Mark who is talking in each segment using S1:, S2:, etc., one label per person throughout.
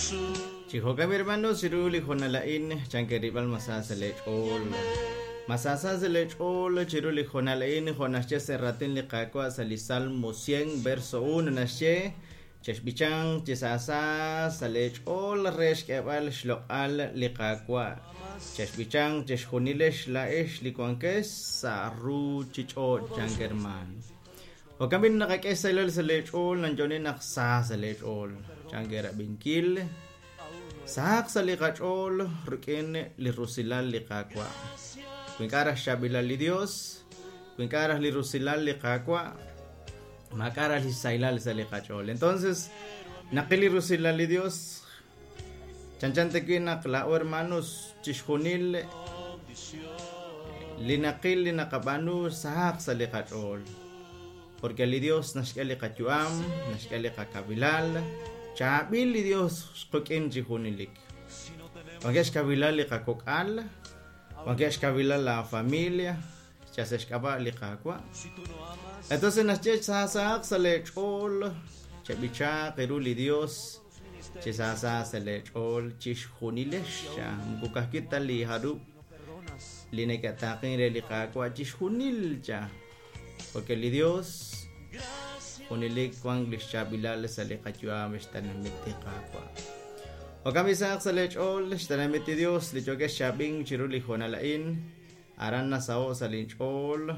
S1: Chi jo'kan, hermanos, chiru li hoonal a'in, chankerib'al ma sa sa' leech'ool. Ma sa sa sa' leech'ool chiru li hoonal a'in, jo' naxye sa' raatin li Qaawa' sa' li Salmo 100 verso 1 naxye, Chexb'ichanq chi saasa sa' leech'ool re xk'eeb'al xloq'al li Qaawa'. Chexb'ichanq chixjunilex laa'ex li wankex sa' ruuchich'och', chank hermaan. Jo'kan b'i' naqak'e xsahilal sa' leech'ool, nanyo'oni naq sa sa' leech'ool, chank eerab'inkil. Sahaq sa' li qach'ool rik'in li rusilal li Qaawa'. Wi ink'a' raj xchaab'ilal li Dios, wi ink'a' raj li rusilal li Qaawa', maak'a' raj li sahilal sa' li qach'ool. Entonces, naqil li rusilal li Dios, chanchan tawi' naq laa'o hermanos chixjunil li naqil li naqab'aanu sahaq sa' li qach'ool. Porque li Dios naxk'e li qayu'am, naxk'e li qakavilal, chaab'il li Dios xquk'in chi junelik. Wankeb' xkawilal li qakok'al, wankeb' xkawilal la familia, yal sa' xk'ab'a' li Qaawa'. Entonces naxye saasahaq sa' leech'ool, cheb'ichaaq ru li Dios, chi saasa sa' leech'ool chixjunilex, moko ka'ajwi' ta li jarub' li neke'taaqen re li Qaawa' chixjunil cha. Porque li Dios junelik wank li xchaab'ilal sa' li qayu'am xtenamit li Qaawa'. Jo'kan b'i' sahaq sa' leech'ool xtenamit li Dios li yookex chaab'ink chiru li hoonal a'in. Aran nasaho' sa' linch'ool,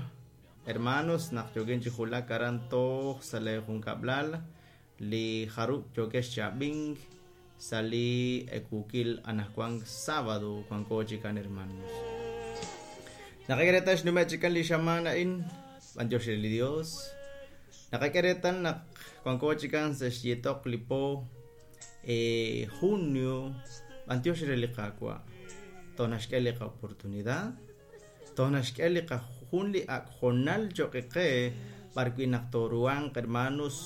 S1: hermanos, naq yookin chi julak aran toj sa' lee junkab'lal li jarub' yookex chaab'ink sa' li ewuukil anajwan sábado wanko chikan, hermanos. Naqak'e reetal xnume' chikan li xamaan a'in, b'antiox re li Dios. Naqak'e reetal naq wanko chikan sa' xyiitoq li po junio, b'antiox re li Qaawa'. Toj naxk'e li qa'oportunidad, toj naxk'e li jun li ak' hoonal cho'q qe b'arwi' naq tooruhanq, hermanos,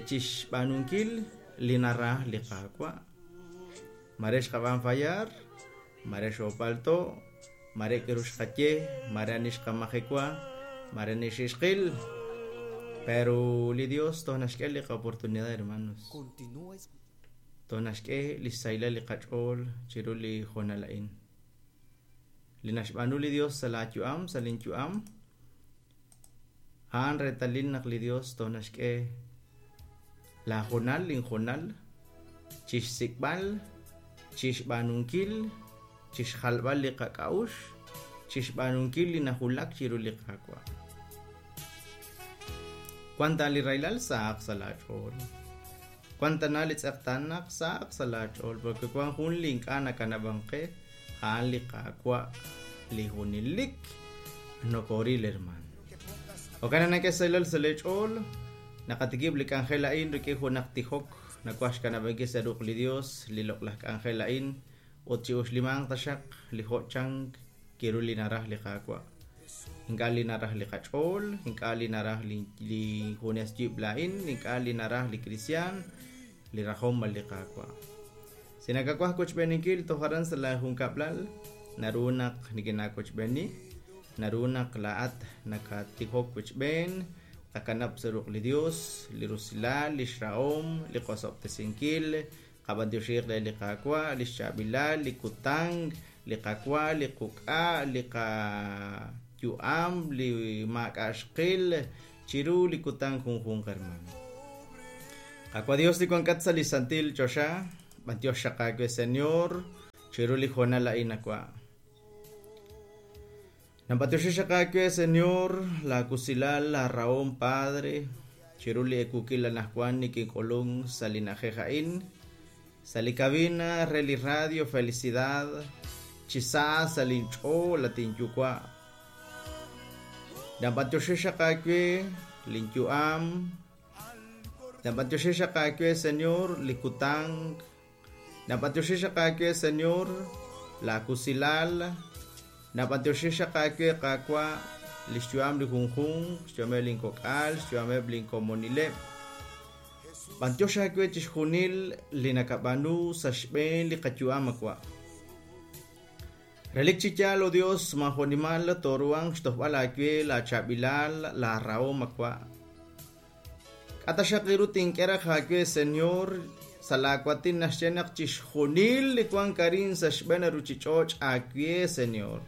S1: chixb'aanunkil li naraj li Qaawa'. Mare xqab'aan fallar, mare xoopalto', mare k'aru xqaye, mare ani xqamajewa, mare ani xixqil. Pero li Dios toj naxk'e li qa'oportunidad, hermanos. Toj naxk'e li xsahilal li qach'ool chiru li hoonal a'in. Li naxb'aanu li Dios sa' laayu'am, sa' linyu'am, a'an reetalil naq li Dios toj naxk'e laahoonal, linhoonal, chixsik'b'al, chixb'aanunkil, chixjalb'al li qak'a'uxl, chixb'aanunkil li najulak chiru li Qaawa'. Wan ta li rahilal sahaq sa' laach'ool. Wan tana li tz'eqtaanaq sahaq sa' laach'ool, porque wan jun li ink'a' nakanab'ank qe, a'an li Qaawa' li junelik nokooril, hermaan. Jo'kan naq nak'e xsahilal sa' leech'ool, naqatikib' li k'anjel a'in rik'in junaq tijok, nawaj xkanab'ankil sa' ruq' li Dios li loq'laj k'anjel a'in, ut chi'uxlimanq taxaq li jo' chank kiru li naraj li Qaawa'. Ink'a' li naraj li qach'ool, ink'a' li naraj li junes yib' laa'in, ink'a' li naraj li kristiaan, li rajom b'an li Qaawa'. Si nakawaj wochb'eeninkil toj aran sa' laa junkab'lal, naru naq nikinaawochb'eeni, naru naq laa'at nakatijok wochb'een, tqakanab' sa' ruq' li Dios, li rusilal, lix rahom, li qosob'tesinkil, qab'antioxiiq re li Qaawa', lix chaab'ilal, li kutan, li qawa, li quk'a', li qayu'am, li maak'a' xqil chiru li kutan junjunq, hermano. Qaawa' Dios li wankat sa' li santil choxa, b'antiox xaq aawe, Señor, chiru li hoonal a'in awa'. Nab'antioxi xaq aawe, Señor, laa wusilal, laa rahom, Padre, chiru li ewuukil anajwan nikink'ulunk sa' li na'ajej a'in, sa' li cabina re li radio Felicidad, chi sa sa' linch'ool, at inyuwa'. Nab'antioxi xaq aawe linyu'am, nab'antioxi xaq aawe, Señor, li kutan, nab'antioxi xaq aawe, Señor, laa wusilal, nab'antioxi xaq aawe, Qaawa', li xyu'am li junjunq, xyu'ameb' linkok'al, xyu'ameb' linkomonileb'. B'antiox aawe chixjunil li nakab'aanu sa' xb'een li qayu'am awa'. Relik chi yaal, o Dios, maajonimal tooruhanq xtojb'al aawe laachaab'ilal, laarahom awa'. K'a' taxaq ru tink'e raj aawe, Señor, Sa' laawatin naxye naq chixjunil li wank arin sa' xb'een ruuchich'och' aawe, Señor.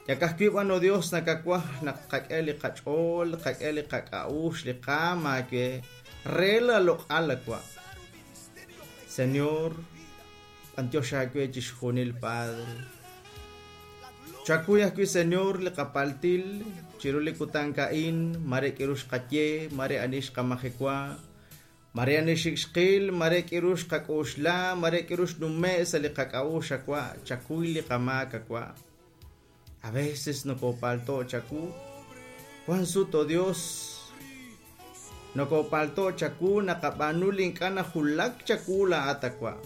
S1: Yak ajwi' b'an, oh Dios, nakawaj naq tqak'e li qach'ool, tqak'e li qak'a'uxl, li qaam aawe re laaloq'al awa'. Señor, b'antiox aawe chixjunil, Padre. Chakuy ajwi', Señor, li qapaltil chiru li kutan a'in, mare k'iru xqaye, mare ani xqamajewa, mare ani xik xqil, mare k'iru xqak'uxla, mare k'iru xnume' sa' li qak'a'uxl awa', chakuy li qamaak awa'. A veces nokopalto chaku, wan sut, oh Dios, nokopalto chaku naqab'aanu li ink'a' najulak chaku laa'at awa'.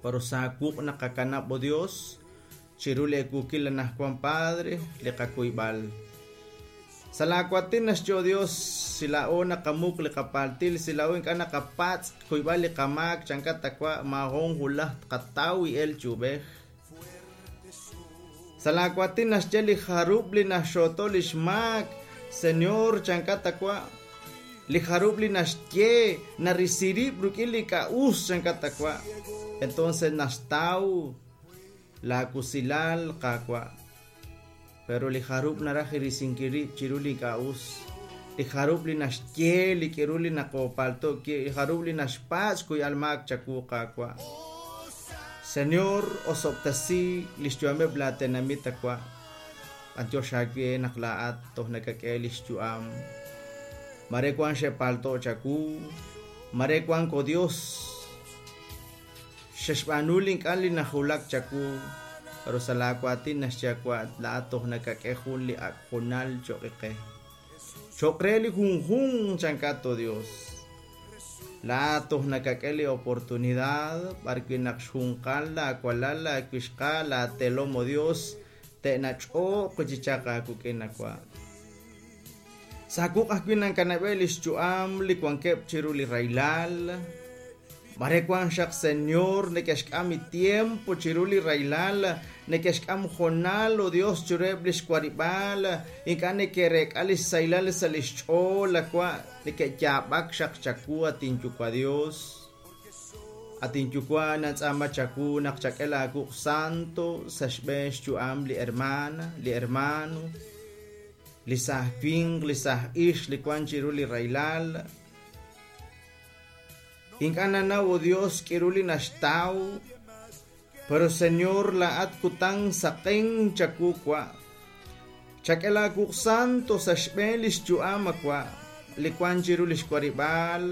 S1: Pero sa wuq' naqakanab', oh Dios, chiru li ekuukil anajwan, Padre, li qakuyb'al. Sa' laawatin naxye, oh Dios, si laa'o naqamuq li qapaltil, si laa'o ink'a' naqapatz' kuyb'al li qamaak chankat awa', maajun hulaj tqataw el chub'ej. Sa' laawatin naxye li jarub' li naxxooto li xmaak, Señor, chankat awa'. Li jarub' li naxye narisirib' rik'in li k'a'us chankat awa'. Entonces naxtaw laakusilal qaawa'. Pero li jarub' naraj irisinkil rib' chiru li k'a'us. Li jarub' li naxye li k'iru li naqopalto li jarub' li naxpatz' kuy'al maak chaku qaawa'. Señor, osob'tesi li xyu'ameb' laatenamit awa'. B'antiox aawe naq laa'at toj nakak'e li xyu'am. Mare wan xe'palto chaku, mare wan ko Dios. Xexb'aanu li ink'a' li najulak chaku, pero sa' laawatin naxye awa' laa'at toj nakak'e jun li ak' junal cho'q qe. Cho'q re li junjunq chankat, oh Dios. Laa'at toj nakak'e li oportunidad b'arwi' naq xjunqal laawalal laawixqa laatelom, oh Dios, te'nach'ooq chichaq aawik'in awa'. Sa wuq' ajwi' nankanab'e li xyu'am li wankeb' chiru li rahilal. Mare wan xaq, Señor, neke'xk'am mi tiempo chiru li rahilal, neke'xk'am jonal, oh Dios, chiruheb' li xwarib'aal, ink'a' neke'reek'a li xsahilal sa' li xch'ool awa', neke'yaab'ak xaq chawu at inyuwa' Dios. At inyuwa' nantz'aama chawu naq chak'e laawuq' santo sa' xb'een xyu'am li hermana, li hermano, li saaj winq, li saaj ixq li wan chiru li rahilal. Ink'a' nanaw, oh Dios, k'iru li naxtaw, pero Señor, laa'at kutan saqen chawu wa'. Chak'e laawuq' santo sa' xb'een li xyu'am awa', li wan chiru li xwarib'aal,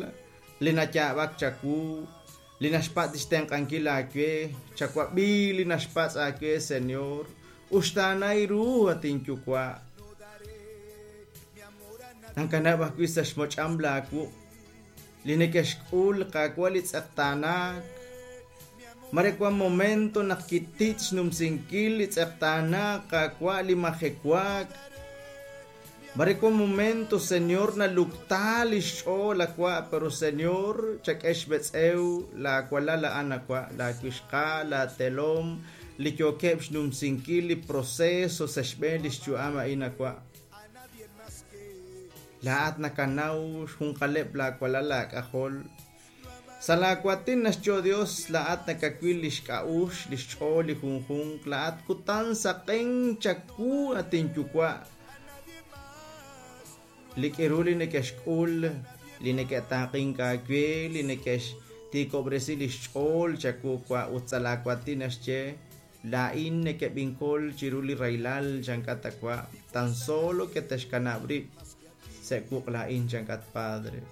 S1: li nayaab'ak chawu, li naxpatz' xtenq'ankil aawe, chawab'i li naxpatz' aawe, Señor, uxtaanay ru at inyuwa'. Nankanab' ajwi' sa' xmoch'am laawuq' li neke'xk'ul qaawa' li tz'eqtaanaak. Mare wan momento naq kititz' xnumsinkil li tz'eqtaanaak qaawa' li majewaak. Mare wan momento, Señor, nalukta li xch'ool awa', pero Señor, chak'e xb'etz'ew laawalal a'an awa', laawixqa, laatelom, li yookeb' xnumsinkil li proceso sa' xb'een li xyu'am a'in awa'. Laa'at nakanaw xjunqaleb' laawalal laak'ajol. Sa' laawatin naxye, oh Dios, laa'at nakawil li xk'a'uxl, li xch'ool li junjunq, laa'at kutan saqen chawu at inyuwa'. Li k'iru li neke'xk'ul, li neke'taaqink aawe, li neke'xtiikob'resi li xch'ool chawu wa' ut sa' laawatin naxye laa'in nekeb'inkol chiru li rahilal chankat awa', tan solo que texkanab' rib' sa' wuq' laa'in chankat, Padre.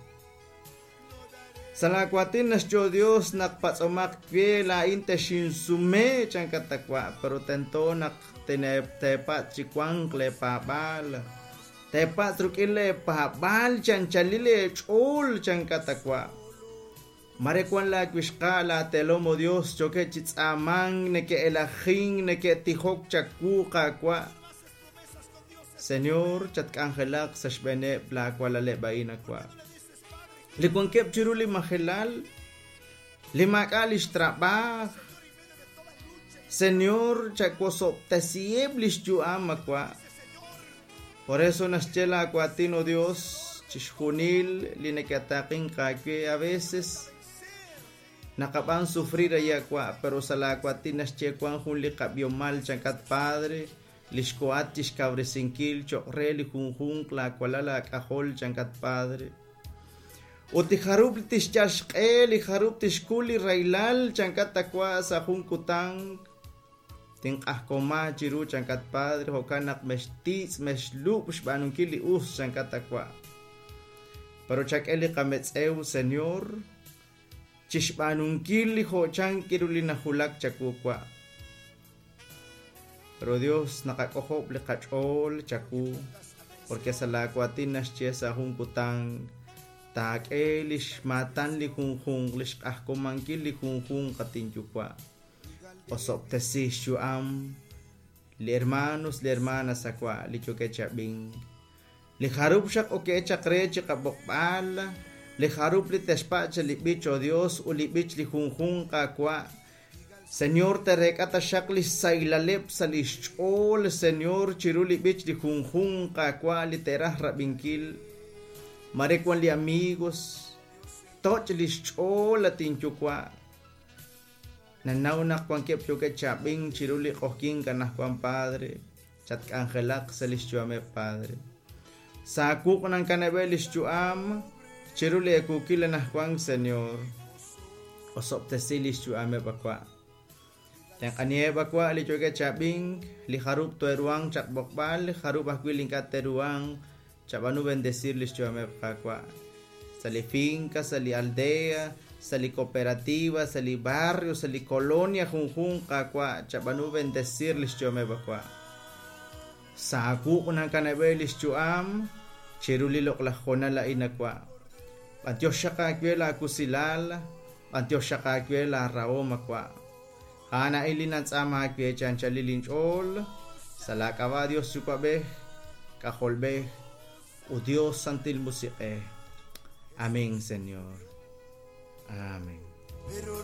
S1: Sa' laawatin naxye, oh Dios, naq patz'omaq we laa'in texinsume chankat awa', pero tento naq teepatz' chi wanq leepaab'aal. Teepatz' rik'in leepaab'aal chanchalil leech'ool chankat awa'. Mare wan laawixqa laatelom, oh Dios, yookeb' chi tz'aamank, neke'elajink, neke'tijok chawu qaawa'. Señor, chatk'anjelaq sa' xb'eeneb' laawalaleb' a'in awa'. Li wankeb' chiru li majelal, li maak'a' li xtrab'aaj, Señor, chawosob'tesiheb' li xyu'am awa'. Por eso naxye laawatin, oh Dios, Chixjunil li neke'taqink aawe a veces naqab'an sufrir ayakwa, pero sa' laawatin naxye wan jun li qab'iomal chankat Padre, li xkohat chixkawresinkil cho'q re li junjunq laawalal laak'ajol chankat Padre. Ut li jarub' tixyal xq'e, li jarub' tixkul li rahilal chankat akwa sa' jun kutan tinq'ajkoma chiru chankat Padre, jo'kan naq mextiitz' mexlub' xb'aanunkil li us chankat akwa. Pero chak'e li qametz'ew, Señor, chixb'aanunkil li jo'chan kiru li najulak chawu wa. Pero Dios naqak'ojob' li qach'ool chawu, porque sa' laawatin naxye sa' jun kutan taak'e li xmaatan li junjunq, li xq'ajkomankil li junjunq atinyuwa'. Osob'tesi xyu'am li hermanos, li hermanas akwa' li yookeb' chab'ink. Li jarub' xaq ok'e chaq re chi qab'oqb'al, li jarub' li texpa' li b'ich, oh Dios, ut li b'ich li junjunq akwa'. Señor, tereek'a taxaq li xsaylaleb' sa' li xch'ool, Señor, chiru li b'ich li junjunq akwa' li te'raj rab'inkil. Mare wan li amigos, toch' li xch'ool atinyuwa'. Nanaw naq wankeb' yookeb' chab'ink chiru li q'ojkink anajwan, Padre, chatk'anjelaq sa' li xyu'ameb', Padre. Saakuq nankanab'e li xyu'am chiru li ekuukil anajwan, Señor. Osob'tesi li xyu'ameb' akwa'. Tenq'aniheb' akwa' li yookeb' chab'ink, li jarub' teruanq chaqb'oqb'al, li jarub' ajwi' li ink'a' teruanq, chab'anu bendecir li xyu'ameb' qakwa'. Sa' li finca, sa' li aldea, sa' li cooperativa, sa' li barrio, sa' li colonia junjunq akwa', chab'anu bendecir li xyu'ameb' akwa'. Saakuq nankanab'e li xyu'am chiru li loq'laj jonal a'in akwa'. B'antiox xaq aawe laakusilal, b'antiox xaq aawe laarahom akwa'. A'an a'in li nantz'aam aawe chanchalil inch'ool, sa' laak'ab'a' Dios Yuwa'b'ej, K'ajolb'ej, ut Dios Santil Musiq'ej. Amén, Señor. Amén.
S2: Pero